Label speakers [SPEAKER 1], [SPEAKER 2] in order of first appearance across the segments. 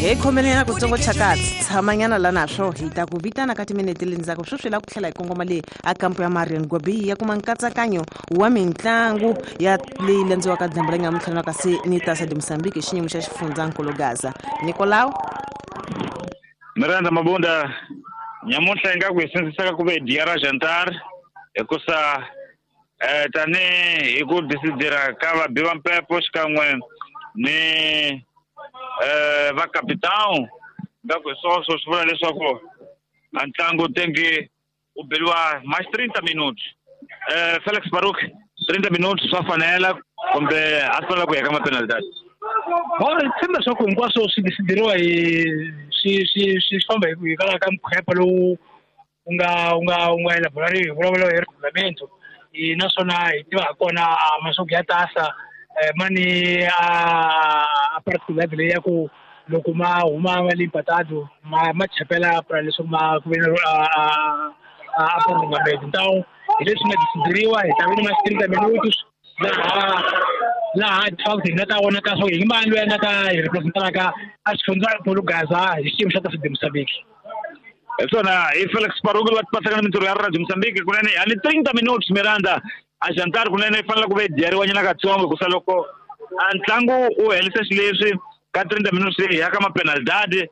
[SPEAKER 1] Hi khomeleni ku tsongo chakatsi tshamanyana la naswo hi ta ku vitana ka timinete le ndzhaku sweswi la ku tlhela hi kongoma le a kampo ya Marian Gobi ya kuma nkatsakanyo wa mitlangu ya leyi landziwaka dyambu la nyamuntlha na kasi ni Taça de Moçambique hi xiyimo xa xifundzankulu Gaza. Nicolau
[SPEAKER 2] Miranda Mabunda nyamuntlha ingaku hi sindzisaka ku ve dia ra jantar hikusa tanihi hi ku disidira ka vabi va mpepo xikan'we ni va capitão ngaku hi swoswo swi vula leswaku a ntlangu tengi u beliwa mais 30 minutos. Felix Baruk 30 minutos swa fanela kumbe a swi fanela ku ya ka mapenalidade?
[SPEAKER 3] Bon, tshemba leswaku hinkwaswo swi disidiriwa hi swi famba hikwalaho ka mkhwepa lowu wu nga elaborariwa hi vulavula hi regulamento. Naswona hi tiva ha kona maswaku ya tasa mani a particular leyi ya ku loko ma huma ma le mpatado ma chapela pra leswaku ma ku ve na a prolongamento. Então hi leswi nga disidiriwa hi ta ve ni ma 30 minutos laha de facto hi nga ta vonaka swa hi mani loyi a nga ta hi representalaka a xifundza Gaza hi xiyimo xa Taça de Moçambique.
[SPEAKER 2] Hi swona hi Felix Baruki loyi a tipatsaka na mintirho ya Radio Moçambique kunene a ni 30 minutos Miranda a jantar kunene yi fanele ku ve dyeriwanyana katsongo hikusa loko a ntlangu wu helise xileswi ka 30 minutos leyi ya ka mapenalidade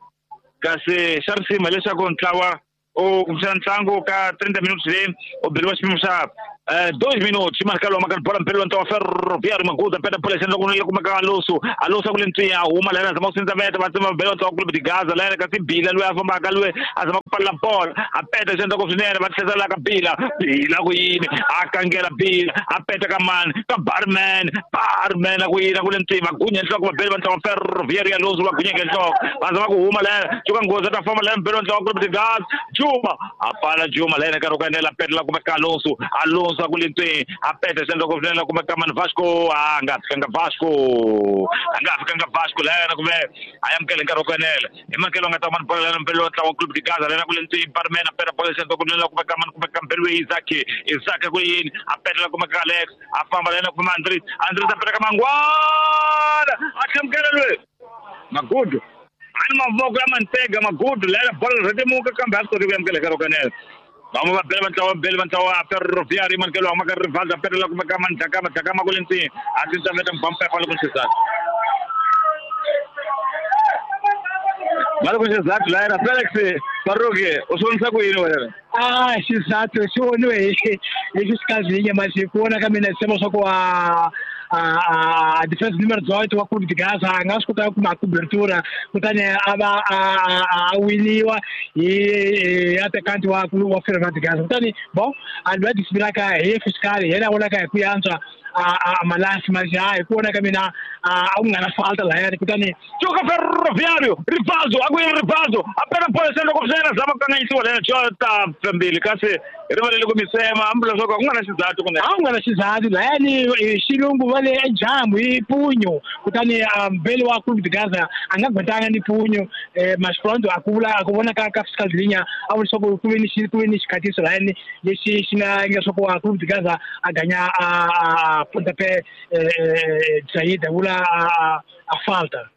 [SPEAKER 2] kasi xa risima leswaku ntlawa u kumbexana ntlangu ka 30 minutos leyi u beriwa xipimo xa 2 minutos marka lo maka bola mpelo ntwa Ferroviário Maguda peta bola xendla ku le kumeka Alonso Alonso ku le ntswinya huma lena zama ku sindza veta va tsema belo ntwa Clube de Gaza lena kasi Bila loyi a fambaka loyi a zama ku palla bola a peta xendla ku swinene va tlhela ka Bila Bila ku yini a kangela Bila a peta ka mani ka Barman Barman ku yini ku le ntswinya va gunya nhloko va belo va ntwa Ferroviário Alonso va gunya nhloko va zama ku huma lena cuka nghozi ta famba lena belo ntwa Clube de Gaza Juma a pala Juma lena ka roka nela peta la kumeka Alonso Alonso ku le ntsweni a peta xendla ku swinene kumeka mani Vasco a nga fikanga Vasco a nga fikanga Vasco lena kumbe a amukele nkarhi wo kanela hi makelo nga ta mani bola lena mpelo ntlawa Clube de Gaza lena ku le ntsweni Barman a peta bola xendla ku swinene kumeka mani kumeka mpelo Isaac Isaac ku yini a peta la kumeka Alex a famba lena kuma Andres Andres a peta ka Mangwana a tlhamukela loyi Magudu ani mavoko ya mantega Magudu lena bola rhetemuka kambe a swi koti ku amukela nkarhi wo kanela vamwe va bela va ntlawa bele va ntlawa Ferroviário mankelo wa maka Rivaldo petela kumeka Mandlakama Dlakama ku le ntsini a sindza veta mbampepa loko xizathu maloko xizathu layena Felix Baruki u swi vonisa ku yini wena?
[SPEAKER 3] A xizathu xi voniwe hi xikazinye masi ku vona ka mina tshemba swa ku a defense numero 18 wa Clube de Gaza a nga swi kota ku kuma cobertura kutani a va a winiwa hi attackant wa Ferroviário de Gaza. Kutani bon a loyi a disibilaka hi fiscal yena a vonaka hi ku yantswa a malasi masi hi ku vona ka mina a ku nga na falta lahayani kutani
[SPEAKER 2] Cuka Ferroviário Rivaldo a ku yini Rivaldo a peta bola xendla ku swinene zama ku kanganyisiwa lena jota mbili kasi rivalele ku misema hambi leswaku a ku nga na xizathu kunene
[SPEAKER 3] a ku nga na xizathu lahayani xilungu va le ejamu hi punyo kutani mbeli wa Clube de Gaza a nga gwetanga ni punyo mas pronto a ku vula a ku vona ka fiscal linya a vula leswaku ku ve ni xikhatiso lahayani lexi xi nga leswaku a Clube de Gaza a ganya a pontapé saída vula a falta.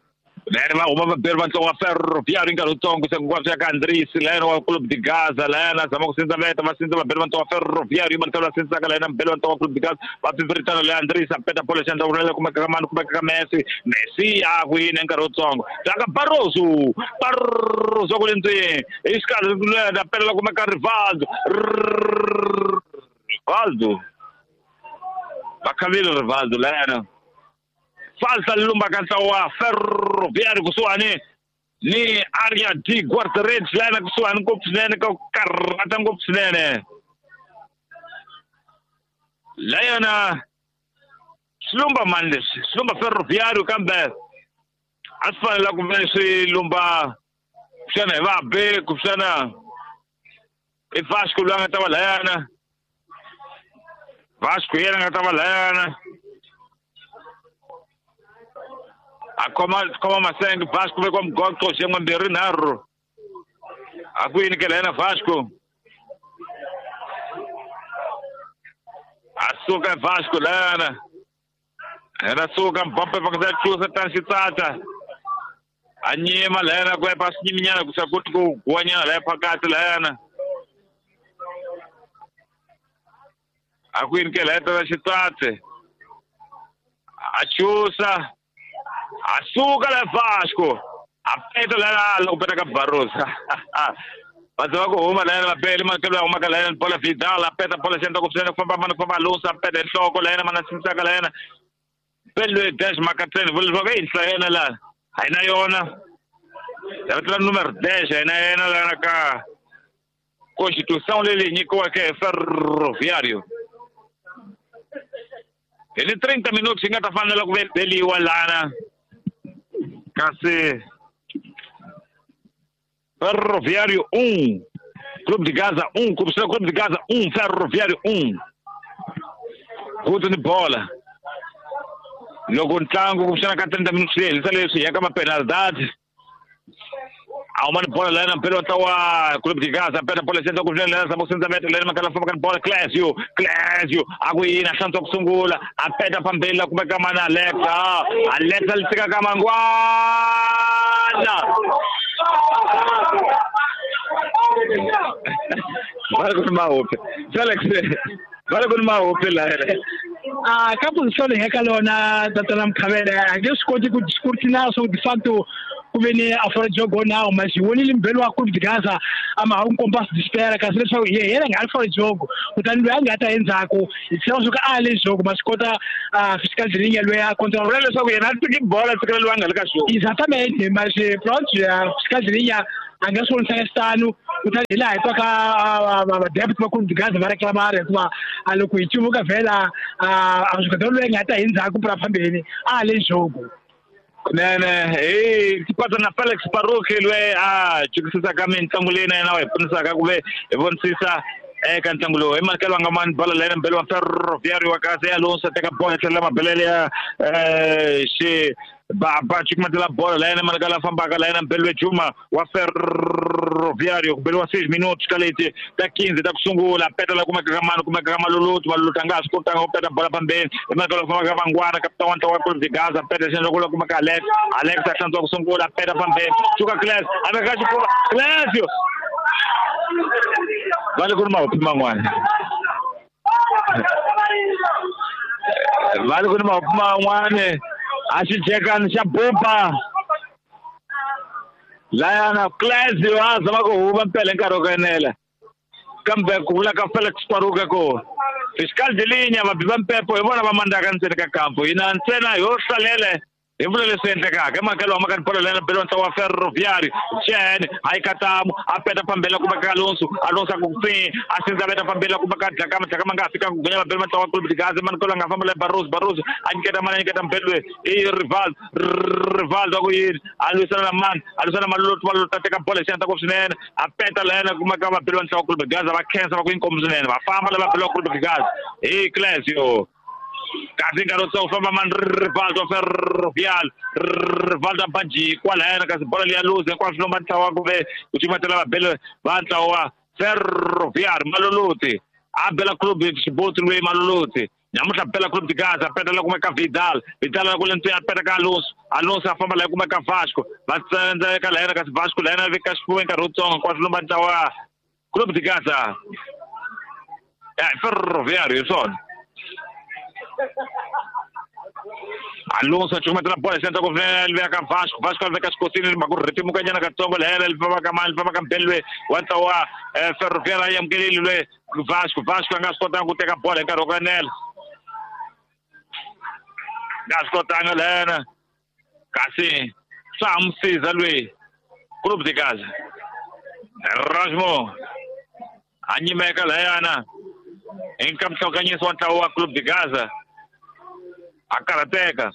[SPEAKER 2] Lena va huma vaberi va ntlawa wa Ferroviário nkarhi wutsongo se hinkwaswo ya ka Andres lena wa Clube de Gaza lena zama ku sindza veta va sindza vaberi va ntlawa wa Ferroviário va ntlawa sindzaka lena mbeli wa ntlawa wa Clube de Gaza va pfipfiritana le Andres a peta bola xandla ku kumeka ka mani kumeka ka Messi Messi a ku yini nkarhi wutsongo tlanga Barroso Barroso ku le ndzeni hi xikarhi lena petela kumeka Rivaldo Rivaldo va khavile Rivaldo lena falta lumba ka ntlawa wa Ferroviário kusuhani ni area de guarda-redes lena kusuhani ngopfu swinene ka ku karhata ngopfu swinene layona swi lumba mani leswi swi lumba Ferroviário kambe a swi fanela ku ve swi lumba kuxana hi vabe kuxana i Vasco loyi a nga ta va layana Vasco yena a nga ta va layana a khoma masenge Vasco vekiwa mugoqo xin'we mbirhi nharhu a ku yini ke lena Vasco a suka Vasco lena yena suka Mbappe va ku chusa tan xitsatsa A nyima layana ku ya pasinyiminyana ku sakuti ku guwanyana laya phakathi layana. A ku yini ke laya tata xitatse. A chusa. A suka la Vasco. A peta laya loko peta ka Barroso. Va zama ku huma layana mabele makelo ya humaka layana bola Vidal a peta bola xenda ku swinene ku famba mana ku famba Alonso a peta nhloko layana mana simisaka layana. Pele 10 makatseni vula leswaku i yinhla yena laha. A yi na yona. Ya vitana numero 10 a yi na yena lana ka Constituição leyi nyikiweke hi Ferroviário. Hi ni 30 minutos yi nga ta fanela ku beliwa lana. Kasi Ferroviário 1, Clube de Gaza 1, Clube de Gaza 1, Ferroviário 1. Guto ni bola. Loko ntlangu kumbexana ka 30 minutos leyi helisa leswi ya ka mapenalidade. A huma ni bola layana mpela wa ntlawa wa Clube de Gaza peta bola xendla ku swinene layana zama ku sindza mete layana makala famba ka bola Clésio Clésio a ku yini a hlantswa ku sungula a peta phambili la kumeka mana Alexa Alexa li tshika ka Mangwana va ri ku ni mahope Felix va ri ku ni mahope layana.
[SPEAKER 3] A ka position leyi nga ka lona tatana Mkhavele a nge swi koti ku scrutinize swo de facto ku ve ni a fora jogo now mas hi vonile mbhelo wa Clube de Gaza a ma ha n'wi komba swi dispera kasi leswaku ye yena nga ri fora jogo kutani loyi a nga ta endzhaku hi tshemba swa ku a le jogo ma swi kota fiscal drilling loyi a control
[SPEAKER 2] vula leswaku yena a tiki bola tsikela loyi a nga le ka xona
[SPEAKER 3] exatamente mas pronto fiscal drilling a nga swi vonisanga xitano kutani hi laha hi twaka vadept va Clube de Gaza va reclamara hikuva a loko hi cuvuka vhela a swi kota loyi a nga ta hi ndzhaku pura phambeni a le jogo.
[SPEAKER 2] Kunene hi tipata na Felix Baruch loyi a jikisisaka mitlangu leyi na yena wa hi pfunisaka ku ve hi vonisisa eka ntlangu lowu. Hi makelo nga mani bola layena mbele wa Ferroviário wa kasi Alonso teka bola tlhela mabelele ya xi baba cukumetela bola layena malekala fambaka layena mbele Juma wa Ferroviário ku beliwa 6 minutos ka leti ta 15 ta ku sungula peta la kumeka ka mani kumeka ka Maluluti Maluluti a nga ha swi kotanga ku peta bola phambeni hi makelo fambaka ka Mangwana kapitana wa ntlawa wa Clube de Gaza peta xendla ku la kumeka Alex Alex a hlantswa ku sungula peta phambeni suka Clés a veka xifuva Clésio va le ku ri mahopi man'wana va le ku ri mahopi man'wana a xijekani xa bupa layana Clésio a zama ku huma mpela hi nkarhi wa ku enela kambe ku vula ka Felix Paruka ku fiscal de linha vabi va mpepo hi vona va mandaka ntsena ka kampo hina ntsena ho hlalele hi vula leswi endlekaka emakelo wa makani bola layana belo ntlawa wa Ferroviário Chen a yi katamu a peta phambela kumeka ka Alonso Alonso a ku pfi a sindza veta phambela kumeka Dlakama Dlakama nga fika ku gunya mabelo ntlawa wa Clube de Gaza manikolo a nga famba la Barroso Barroso a nyiketa mani a nyiketa mbelo i Rivaldo Rivaldo a ku yini a lwisana na mani a lwisana na Maluluti Maluluti a teka bola hi xihatla ku swinene a peta layana kumeka mabelo ntlawa wa Clube de Gaza va khensa va ku inkomu swinene va famba la mabelo wa Clube de Gaza hi Clésio kasi nkarhi wo famba mani Rivaldo Ferroviário Rivaldo a banji kwalaya kasi bola liya luze hinkwaswo lomba ntlawa ku ve ku cukumetela vabele va ntlawa wa Ferroviário Maluluti a bela Clube Xiboti loyi Maluluti namuntlha bela Clube de Gaza peta la kumeka Vidal Vidal la ku le ntswini a peta ka Alonso Alonso a famba laha kumeka Vasco va tsandzeka layena kasi Vasco layena veka xifuwo nkarhi wutsongo hinkwaswo lomba ntlawa wa Clube de Gaza ya Ferroviário hi swona. Alonso a cukumetela bola xendla ku veka ka Vasco Vasco a veka xikosini mhaka ku rhetemuka nyana katsongo lehela li famba ka mani li famba ka mbele wa ntlawa wa Ferroviário a amukeleli loyi Vasco Vasco a nga swi kotanga ku teka bola hi nkarhi wa ku enela nga swi kotanga lehena kasi swa ha n'wi siza loyi Clube de Gaza Rasmo a nyimeka layana hi nkamhlokanyiso wa ntlawa wa Clube de Gaza a karhateka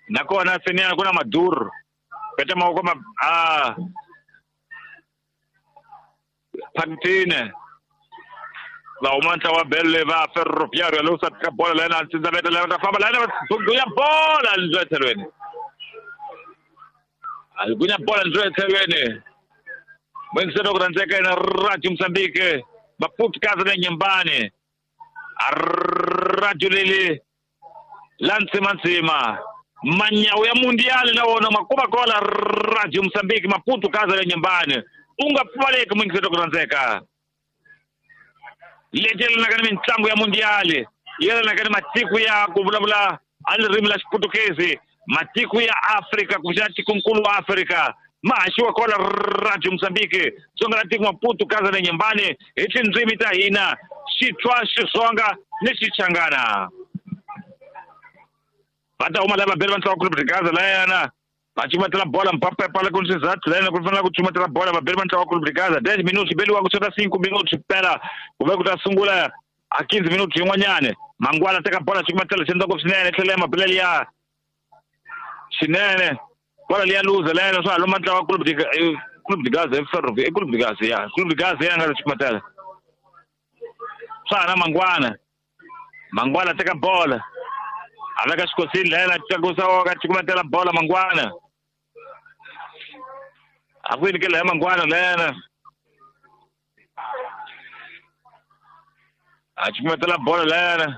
[SPEAKER 2] nakona seniyana ku na Maduro peta mavoko ma a phakitini va huma ntlawa wa belo va Ferroviário lowu sa tika bola layena a ntsindza veta layena ta famba layena va gunya bola ndzi etlhelweni a gunya bola ndzi etlhelweni mwengiselo ku rhandzeka yena Radio Mozambique Maputo kaza na nyumbani a radio leli la ntsimantsima Manyawu ya mundial na wona makuma kola Radio Mozambique Maputo kaza le nyumbani. U nga pfaleki muyingiseri ku rhandzeka. Leti yelanaka ni mitlangu ya mundial, yelanaka ni matiko ya ku vulavula a ririmi la Xiputukezi, matiko ya Afrika kumbexana tikonkulu wa Afrika ma haxiwa kola Radio Mozambique Tsonga la tiko Maputo kaza le nyumbani hi tindzimi ta hina Xitswa, Xitsonga ni Xichangana. Va ta huma lava vabeli va ntlawa Clube de Gaza layana va cumatela bola Mbappe pala ku swizathu layana ku fanele ku cumatela bola vabeli va ntlawa Clube de Gaza 10 minutos beliwa ku sota 5 minutos phela ku ve ku ta sungula a 15 minutos yin'wanyana. Mangwana teka bola cumatela xi endla swinene tlhela ya mabelele ya swinene bola liya luza layana swa loma ntlawa Clube de Gaza e Clube de Gaza ya Clube de Gaza ya nga cumatela swa na Mangwana. Mangwana teka bola a veka xikosini layena tlakusa wa ka cukumetela bola Mangwana. A ku yini ke laya Mangwana layena a cukumetela bola layena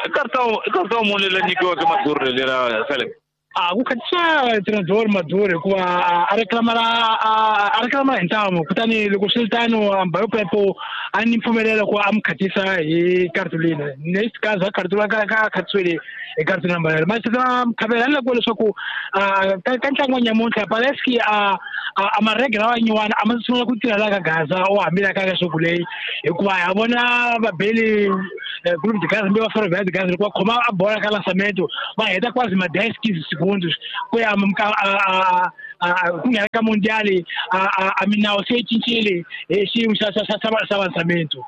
[SPEAKER 2] i karta muni leyi nyikiweke Maduro lera Felix.
[SPEAKER 3] A ku khatisa treinador Maduro hikuva a reclamara hi ntamu, kutani loko swi ri tano Mbayo Pepo a ni mpfumelelo ku a mi khatisa hi cartolina. Nesse caso a cartolina ka khatisiwile hi cartolina amarelo. Mas mkhavela ni lava leswaku ka ntlangu wa nyamuntlha parece que a maregra lawa nyuwana a ma sungula ku tirha la ka Gaza o hambila ka leswaku leyi hikuva ha vona vabeli Clube de Gaza mbe va Ferroviário de Gaza loko va khoma a bola ka lançamento va heta quase ma 10 15 segundos ku ya ku nghena ka mundial a minawu se yi cincile hi xiyimo xa xa lançamento.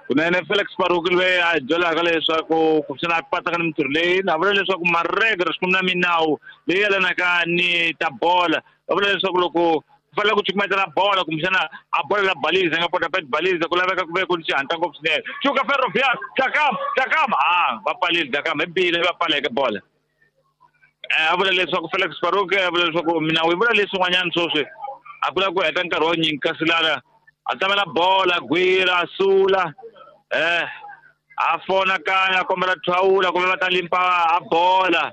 [SPEAKER 2] Kunene Felix Baruki loyi a byelaka leswaku kumbexana a patsaka ni mintirho leyi na vula leswaku maregre xikwembu na minawu leyi yelanaka ni ta bola va vula leswaku loko ku fanele ku cukumetela bola kumbexana a bola la baliza nga pota pet baliza ku laveka ku ve ku xihatla ngopfu swinene. Cuka Ferroviário Dakam Dakam a va pfalile Dakam hi bile va pfaleke bola. A vula leswaku Felix Baruki a vula leswaku minawu yi vula leswin'wanyana sweswi a ku lava ku heta nkarhi wa nyingi kasi lana a tamela bola gwira a sula a fona kaya a kombela thawula kumbe va ta limpa a bola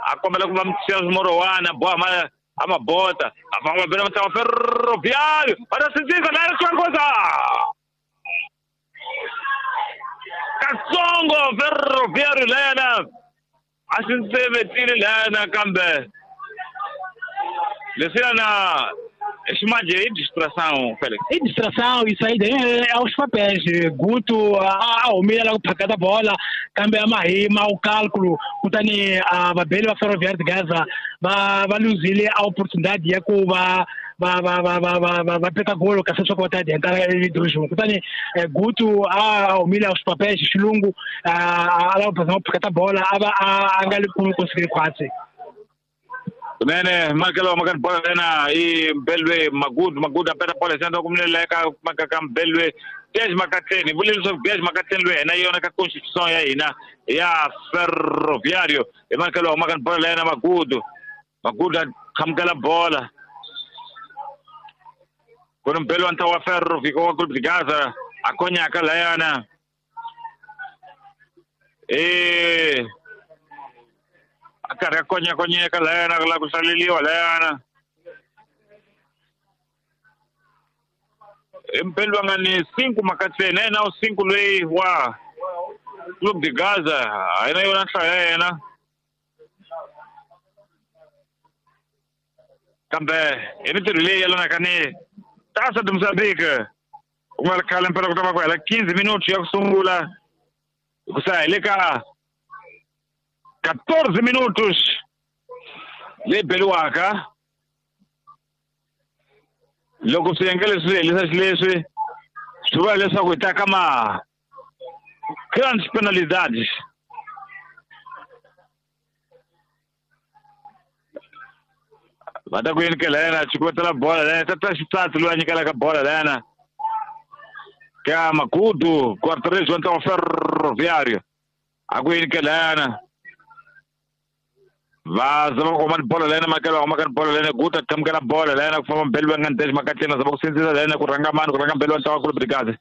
[SPEAKER 2] a kombela ku va mutshila swimorowana boha ma a mabota a famba bela mutlawa Ferroviário va ta sindzisa la xwangoza katsongo Ferroviário lena a xi ntsevetile lena kambe leswiyana ximanje i distração, Felix.
[SPEAKER 3] I distração, isso aí é aos papéis. Guto a humile la ku phakata bola kambe a mahima o cálculo kutani a vabeli va Ferroviário de Gaza va luzile a oportunidade ya ku va va peka golo kasi leswaku va ta adiantara edojo. Kutani Guto a humile aos papéis xilungu a lava ku phakata bola a va a nga le ku conseguir khwatsi.
[SPEAKER 2] Kunene makelo makani bola lena i Mbelwe Magudu Magudu a peta bola xana ku minele ka maka ka Mbelwe Dez Makatleni vule leswaku Dez Makatleni loyi hina yona ka constitution ya hina ya Ferroviário hi makelo makani bola lena Magudu Magudu a qhamukela bola ku ri Mbelwe wa ntlawa wa Ferroviário wa Clube de Gaza a konyaka layana a karhi a konyakonyeka layana ku lava ku hlaleliwa layana i Mbelwe nga ni 5 Makatleni yena u 5 loyi wa Clube de Gaza a yena yona nhlayo ya yena kambe hi mintirho leyi yelanaka ni Taça de Moçambique ku nga ri khale mpela ku ta va ku hela 15 minutos ya ku sungula ku sa hi le ka 14 minutos leyi beliwaka loko swiyenge leswi swi helisa xileswi swi vula leswaku hi ta ka ma grandes penalidades. Va ta ku yini ke lena cukumetela bola lena tata xitsatsi loyi a nyikelaka bola lena ka Magudu guarda-redes wa ntlawa Ferroviário a ku yini ke lena va zama ku kuma bolo lena makelo huma ka bolo lena Guta qhamukela bola lena ku famba Mbelwe nga Ndezi Makatleni zama ku sindzisa lena ku rhanga mani ku rhanga Mbelwe wa ntlawa Clube de Gaza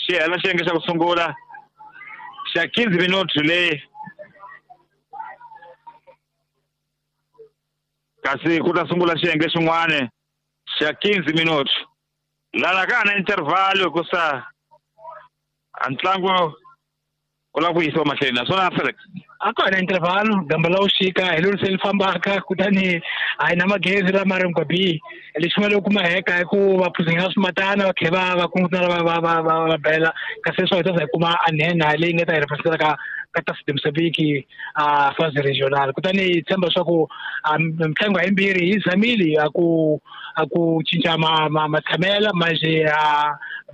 [SPEAKER 2] xi hela xiyenge xa ku sungula Xa 15 minutos leyi kasi ku ta sungula xiyenge xin'wana xa 15 minutos lana ka na intervalo hikusa a ntlangu ku lava ku yisiwa mahlweni naswona Felix
[SPEAKER 3] a ka na intervalo gamba la uxika hi lolu se li fambaka kutani a hi na magezi lama ri ngwabi lexi nga loko maheka hi ku va phuzinga swimatana va tlhe va kungutana va bela kasi leswi hi ta za hi kuma a nhenha leyi nga ta hi representa ka Taça de Moçambique a phase regional kutani hi tshemba leswaku mitlangu hayimbirhi yi zamile a ku cinca matshamela manje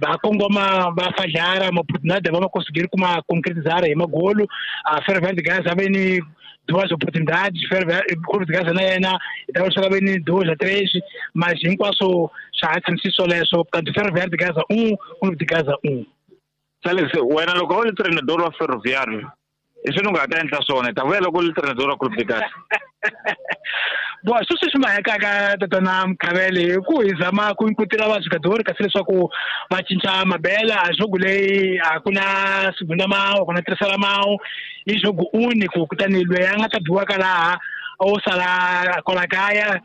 [SPEAKER 3] va kongoma va fadlara maoportunidade va ma conseguir kuma concretizar hi magolo a Ferroviário de Gaza ve ni duas oportunidades Clube de Gaza na yena hi ta leswaku ve ni duas a três mas hinkwaswo swa ha tshamisi swoleswo kanti Ferroviário de Gaza 1 Clube de Gaza 1.
[SPEAKER 2] Felix wena loko u ri treinador wa Ferroviário i swi ni nga ta endla swona ta vuya loko u ri treinador wa Clube de Gaza.
[SPEAKER 3] Bo sweswi swi mahekaka tatana Mkhavele hi ku hi zama ku inkutela vajogadori kasi leswaku va cinca mabela a jogo leyi a ku na segunda mão a ku na terceira mão i jogo único kutani loyi a nga ta biwaka laha o sala kwala kaya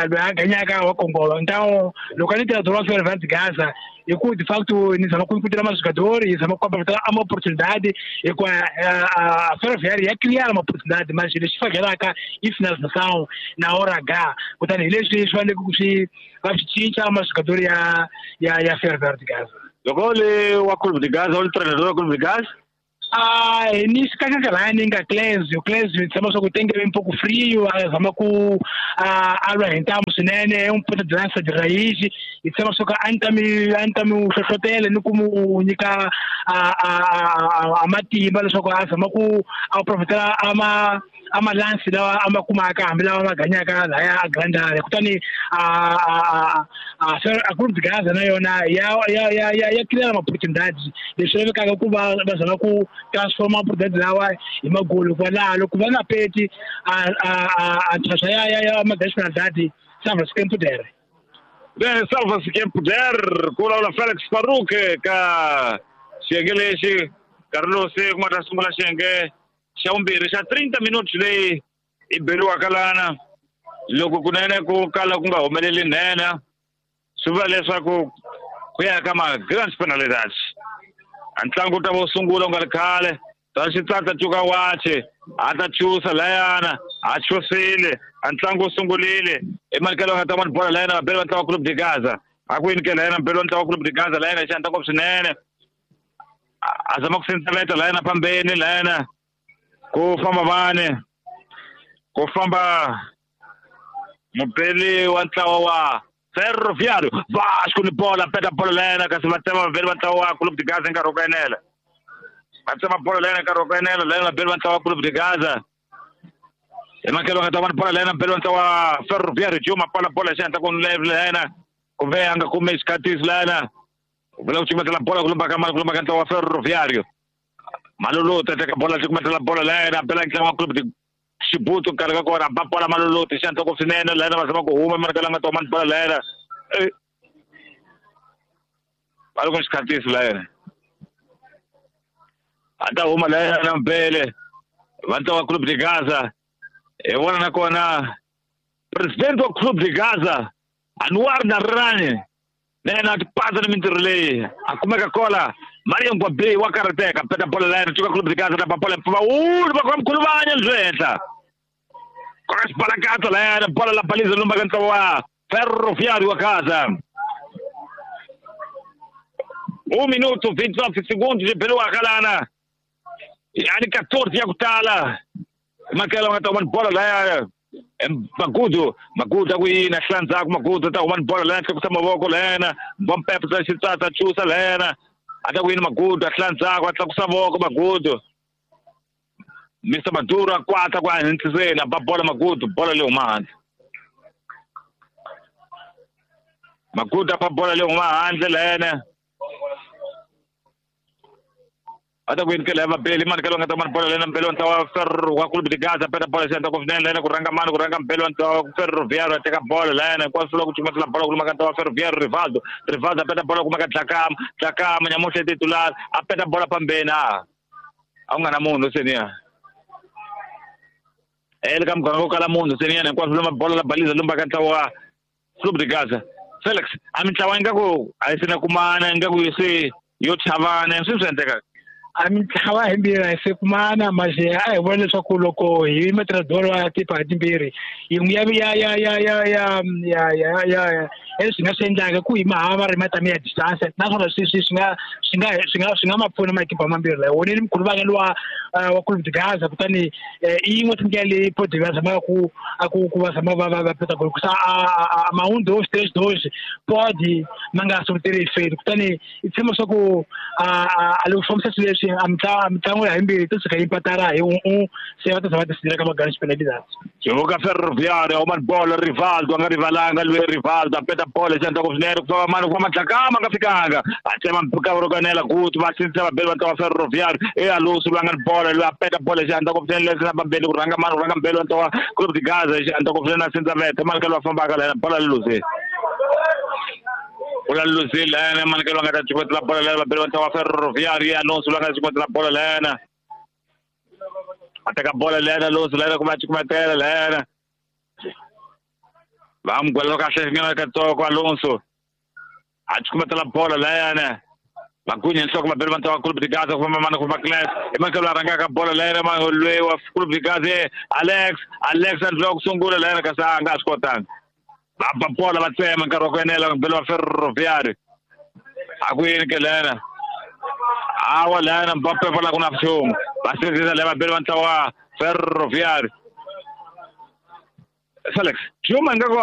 [SPEAKER 3] loyi a ganyaka wa kongoma. Então loko a ni treinador wa Ferroviário de Gaza hi ku de facto ni zama ku inkutela majogadori hi zama ku aproveitar uma oportunidade hikuva a Ferroviário ya criar uma oportunidade mas lexi fakelaka i finalização na hora H kutani hi leswi swi faneleke ku swi va swi cinca majogadori ya Ferroviário de Gaza.
[SPEAKER 2] Loko u li wa Clube de Gaza u li treinador wa Clube de Gaza
[SPEAKER 3] nisso kakaka ni nga Clésio tshemba swa ku tenge um pouco frio a zama ku a lwa hi ntamu swinene um ponta de lança de raiz hi tshemba swa ku a ni ta mi hlohlotela ni ku mu nyika a matimba leswaku a zama ku a profitela a malansi lawa a ma kumaka hambi lawa ma ganyaka laya a grande area kutani a Clube de Gaza na yona ya criar uma oportunidade leswi lavekaka ku va va zama ku transforma oportunidade lawa hi magolo kwalaho loko va nga peti a ntlhantlha ya ma-nationalidade salva-se quem puder.
[SPEAKER 2] Bem, salva-se quem puder ku vulavula Felix Farouk ka xiyenge lexi nkarhi lowu se ku nga ta sungula xiyenge xa vumbirhi xa 30 minutos leyi i beriwaka lana loko kunene ku kala ku nga humeleli nhenha swi vula leswaku ku ya ka ma-grand penalidades a ntlangu wu ta va wu sungula ku nga ri khale ta xitsatsa cuka wache a ta chusa layana a chusile a ntlangu wu sungurile emalikelo nga ta vona bola layana vabeli va ntlangu wa Clube de Gaza a ku yini ke layana mubeli wa ntlangu wa Clube de Gaza layana hi xihatla ngopfu swinene a zama ku sindzaveta layana phambeni layana ku famba vane ku famba mubeli wa ntlawa wa Ferroviário Vasco ni bola peta bola lena kasi va tsema vabeli va ntlawa wa Clube de Gaza nkarhi wa ku enela va tsema bola lena nkarhi wa ku enela lena vabeli va ntlawa wa Clube de Gaza emakelo nga ta vona bola lena mubeli wa ntlawa wa Ferroviário Juma pala bola xihatla ku lena kumbe a nga kumi xikhatisi lena vula ku cukumetela bola ku lumba ka mali ku lumba ka ntlawa wa Ferroviário Maluluti a teka bola cukumetela bola lena bela ntlawa wa Clube de Xibutu nkarhi ka kona ba bola Maluluti xihatla ku swinene lena va zama ku huma emakelo nga ta huma ni bola lena va loko xikhatisi lena a ta huma lena mbele va ntlawa wa Clube de Gaza hi vona nakona president wa Clube de Gaza Anwar Narani na yena a tipatsa ni mintirho leyi a kumeka kola Mario Ngwabi wa karhateka peta bola lena cuka Clube de Gaza ta bola mpfumawulo va kuma mkhuluvanya lebyi henhla koka xibalakatsa lena bola la baliza lumba ka ntlawa wa Ferroviário wa Gaza. 1 minuto 29 segundos de beriwaka lana yani 14 ya ku tala makela nga ta huma ni bola laya Magudu a ku yini a hlandzhaku Magudu ta huma ni bola lena tlakusa mavoko lena Bompepe ta xitsatsa chusa lena a ta ku yini Magudu a hlandzhaku a tlakusa voko Magudu Mr Maduro a kwata ku a hintliseni a ba bola Magudu bola leyi huma handle Magudu a ba bola leyi huma handle lena a ta ku yini ke laya vabeli mani ke loyi nga ta mani bola lena mbeli wa ntlawa wa Clube de Gaza peta bola xihatla ku swinene lena ku rhanga mani ku rhanga mbeli wa ntlawa wa Ferroviário a teka bola lena hinkwaswo loko cukumetela bola ku luma ka ntlawa wa Ferroviário Rivaldo a peta bola kuma ka Dlakama nyamuhla titular a peta bola phambeni a A ku nga na munhu seniya. Le ka muganga wo kala munhu seniya hinkwaswo lomba bolo la baliza lomba ka ntlawa wa Clube de Gaza. Felix, a mintlawa ingaku a yi se na kumana ingaku se yo chavana swi swi endleka.
[SPEAKER 3] A mintlawa himbirhi a yi se kumana manje a hi vona leswaku loko hi matradoro ya tipa timbirhi yin'we ya ya ya ya ya ya ya ya ya ya swi nga swi endlaka ku hi mahava ri matami ya distance naswona swi swi swi nga swi nga swi nga swi nga ma pfuna makipa mambirhi lawa woneni mkhulu luwa wa Clube de Gaza kutani i yin'we tindlela leyi podi va zamaka ku a ku ku va zama va va va peta gol kusa a ma 1 2 3 2 podi ma nga sortir efeito kutani i tshemba swa ku a loko fambisa swilo leswi a mitlangu ya himbirhi to suka yi patara hi un se va ta zama ti ka magana penalidades.
[SPEAKER 2] Joga Ferroviário, uma bola Rivaldo, a nga rivalanga loyi Rivaldo a peta bola xandla ku swinene ku famba mani ku famba Dlakama nga fikanga a tsema mpfhuka kuti va sindzisa vabeli va ntlawa Ferroviário e Alonso loyi a nga ni bola loyi a peta bola xandla ku swinene leswi na vabeli ku rhanga mani ku rhanga mbeli wa ntlawa Clube de Gaza xandla ku swinene a sindza vete mani ka loyi a fambaka lena bola luzile u la luzile lena mani ka loyi a nga ta cukumetela bola lena vabeli va ntlawa Ferroviário e Alonso loyi a nga ta cukumetela bola lena a teka bola lena Alonso lena ku va cukumetela lena va n'wi gwela kahle nyana katsongo Alonso a cukumetela bola lena va gunya nhloko vabeli va ntlawa Clube de Gaza ku famba mani ku famba Class i mani loyi a rhangaka bola lena loyi wa Clube de Gaza Alex Alex a ndliwa ku sungula lena kasi a nga swi kotanga va ba bola va tsema nkarhi wa ku enela vabeli va Ferroviário a ku yini ke lena awa lena Mbappe va la ku na nchumu va sindzisa le vabeli va ntlawa Ferroviário. Felix Juma ingaku